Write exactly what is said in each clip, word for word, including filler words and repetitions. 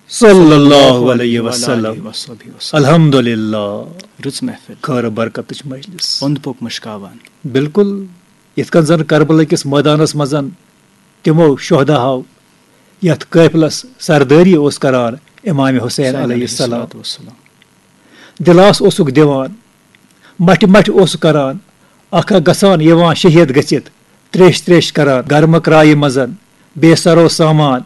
صلی اللہ علیہ وسلم۔ وصحبہ وسلم۔ الحمدللہ۔ رٕژ محفل۔ خٲر برکتٕچ مجلس۔ اوٚنٛد پوٚک مُشکاوان۔ بالکل۔ یِتھ کٔنۍ زن کربلا کِس مٲدانس منٛز تِمو شہداہو یتھ قٲفلس سردٲری اوس کران امام حسین علیہ السلام۔ السلام۔ دِلاس اوسُکھ دِوان، مٹھِ مٹھِ اوسُکھ کران، اکھ اکھ گژھان یِوان شہید گٔژھِتھ، تریش تریش کران، گرمہٕ کرایہِ منٛز، بے سرو سامان،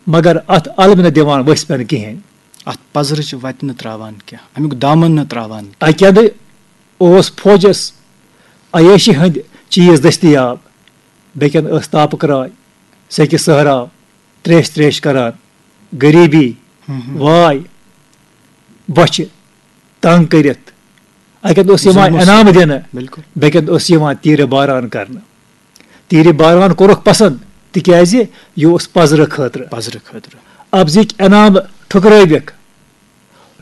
مگر اتھ الم نہٕ دِوان ؤسۍ پٮ۪ن کِہینۍ۔ اتھ پزرٕچ وتہِ نہٕ تراوان کینٛہہ، امیُک دامن نہٕ تراوان کینٛہہ۔ اکہِ اندٕ اوس فوجس عیٲشی ہٕنٛدۍ چیٖز دٔستیاب، بیٚکٮ۪ن ٲس تاپہٕ کرٛاے، سیٚکہِ صحرا، تریش تریش کران، غریٖبی، ہم۔ واے، بۄچھِ تنگ کٔرِتھ۔ اکہِ اندٕ اوس یِوان ظُلمَس۔ انعام دِنہٕ، بالکل۔ بیٚکہِ اندٕ اوس یِوان تیٖرِ باران کرنہٕ۔ تیٖرِ باران کوٚرُکھ پسند، تِکیازِ یہِ اوس پزرٕ خٲطرٕ۔ پزرٕ خٲطرٕ۔ اَپزٕکۍ انعام ٹھُکرٲوِکھ۔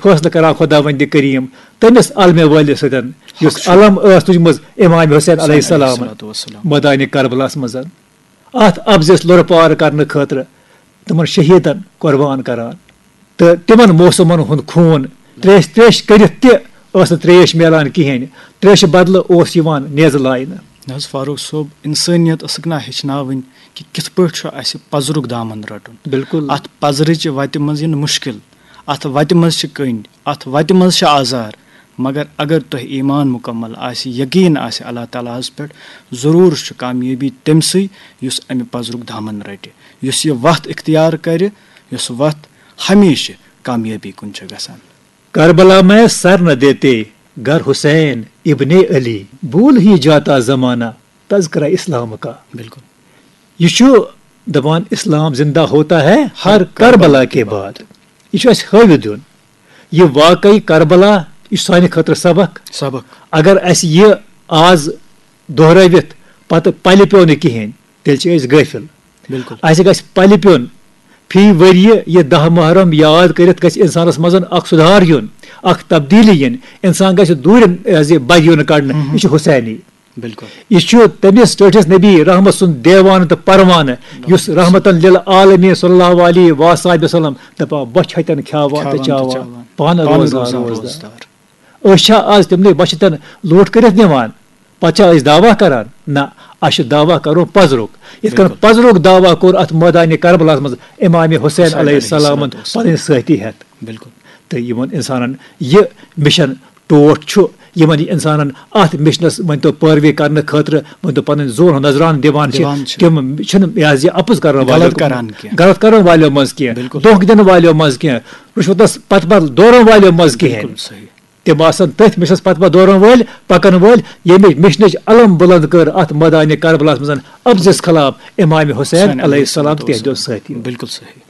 فٲصلہٕ کران خۄداوندِ کریٖم تٔمِس علمہِ وٲلِس سۭتۍ، یُس حق چھُ۔ علم ٲس تُجمٕژ امام حسین علیہ السلام الصلوۃ والسلام۔ مٲدانِ کربلاہس منٛز۔ اتھ اَپزِس لۄرٕ پار کرنہٕ خٲطرٕ تِمن شہیدن قربان کران۔ تہٕ تِمن موسمن ہُنٛد خوٗن تریش تریش کٔرِتھ تہِ ٲس نہٕ تریش میلان کِہینۍ۔ تریشہِ بدلہٕ اوس یِوان نیزٕ لاینہٕ۔ نہ حظ فاروق صٲب، انسٲنیت ٲسٕکھ نہ ہیٚچھناوٕنۍ کہِ کِتھ پٲٹھۍ چھُ اسہِ پزرُک دامن رٹُن۔ بالکل۔ اتھ پزرٕچہِ وتہِ منٛز یِنہٕ مُشکل، اتھ وتہِ منٛز چھِ کٔنۍ، اتھ وتہِ منٛز چھِ آزار، مگر اگر تۄہہِ ایمان مکمل آسہِ، یقین آسہِ اللہ تعالیٰ ہس پٮ۪ٹھ، ضروٗر چھُ کامیٲبی تٔمسٕے یُس امہِ پزرُک دامن رٹہِ، یُس یہِ وتھ اختیار کرِ، یُس وتھ ہمیشہِ کامیٲبی کُن چھِ گژھان۔ کربلا میں سر نہ دیتے گر حسین ابن علی، بھول ہی جاتا زمانہ تذکرہ اسلام کا۔ بالکل۔ یہ چھُ دپان اسلام زندہ ہوتا ہے ہر کربلا کے بعد۔ یہ چھُ اسہِ ہٲوِتھ دیُن۔ یہ واقعی کربلا، یہ چھُ سانہِ خٲطرٕ سبق۔ سبق۔ اگر اسہِ یہ آز دۄہرٲوِتھ پتہٕ پلہِ پیوٚو نہٕ کِہینۍ، تیٚلہِ چھِ أسۍ غٲفِل۔ بالکل۔ اسہِ گژھِ پلہِ پیوٚن۔ فی ؤریہِ یہِ دَہ محرم یاد کٔرِتھ گژھِ انسانس منٛز اکھ سُدھار یُن، اکھ تبدیلی یِن۔ انسان گژھِ دوٗرٮ۪ن، یہِ حظ یہِ بدیُن کڑنہٕ۔ مہم۔ یہِ چھُ حسینی۔ بالکل۔ یہِ چھُ تٔمِس ٹٲٹھِس نبی رحمت سُنٛد دیوانہٕ تہٕ پروانہٕ، یُس رحمتن للعالمین صلی اللہ علیہ و صحبہ وسلم دپان، بۄچھِ ہتٮ۪ن کھیاوان تہٕ کھاوان تہٕ چاوان، چاوان۔ پانہٕ پانہٕ روزان روزان روزدار۔ روزدار۔ أسۍ چھا آز تِمنٕے بۄچھِ تن لوٗٹھ کٔرِتھ نِوان؟ پتہٕ چھا أسۍ دعویٰ کران؟ نہ، اَسہِ چھُ دعویٰ کرُن پزرُک۔ یِتھ کٔنۍ بالکل۔ پزرُک دعویٰ کوٚر اتھ مٲدانِ کربلس منٛز امام حسین حسین علیہ علیہ السلامن الصلوۃ والسلام۔ پنٕنۍ سٲتھی ہٮ۪تھ۔ بالکل۔ تہٕ یِمن انسانن یہِ مِشن ٹوٹھ چھُ، یِمن یہِ انسانن اتھ مِشنس ؤنۍ تو پٲروی کرنہٕ خٲطرٕ ؤنۍ تو پنٕنۍ زُوَن ہُنٛد نذرانہٕ دِوان چھِ، دِوان چھِ۔ تِم چھِنہٕ یہِ حظ یہِ اپُز کرن غلط والٮ۪و، کران کینٛہہ۔ غلط کرن والٮ۪و منٛز کینٛہہ، بالکل۔ دھوکہٕ دِنہٕ والٮ۪و منٛز کینٛہہ، رُشوتس پتہٕ پتہٕ دورن والٮ۪و منٛز کِہینۍ۔ بالکل صحیح۔ تِم آسن تٔتھۍ مِشنس پتہٕ پتہٕ دورن وٲلۍ، پکن وٲلۍ، ییٚمہِ مِشنٕچ علم بُلند کٔر اتھ مٲدانِ کربلاہس منٛز اپزِس خلاف امام حسین حسین علیہ السلام تہٕ تِہنٛدیو السلام۔ سٲتھیو۔ بالکل صحیح۔